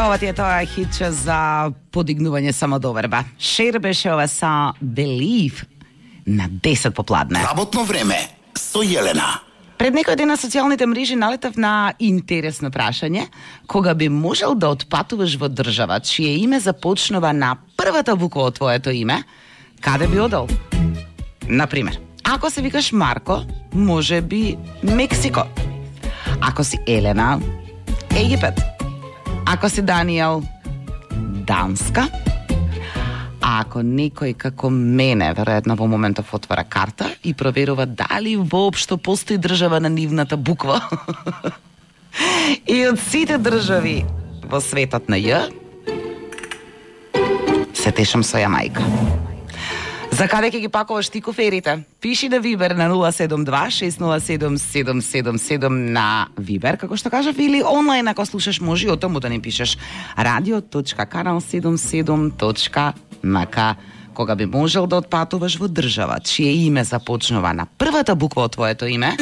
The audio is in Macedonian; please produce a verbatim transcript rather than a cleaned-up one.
ова ти е тоа хитче за подигнување самодоверба. Шер беше ова са Believe на десет попладне. Работно време со Јелена. Пред некој ден на социјалните мрежи налетав на интересно прашање: кога би можел да отпатуваш во држава чие име започнува на првата буква од твоето име, каде би одел? Например, ако се викаш Марко, може би Мексико. Ако си Елена, Египет. Ако си Даниел, Данска. А ако некој како мене, веројатно во моментов отвара карта и проверува дали воопшто постои држава на нивната буква. И од сите држави во светот на Ј, се тешам со Јамајка. За каде ќе ги пакуваш ти куферите? Пиши на Вибер на нула седум два шест нула седум седум седум седум на Вибер, како што кажав, или онлайн ако слушаш може и о тому да не пишеш радио точка канал седумдесет и седум точка ем ка. Кога би можел да отпатуваш во држава чие име започнува на првата буква од твоето име,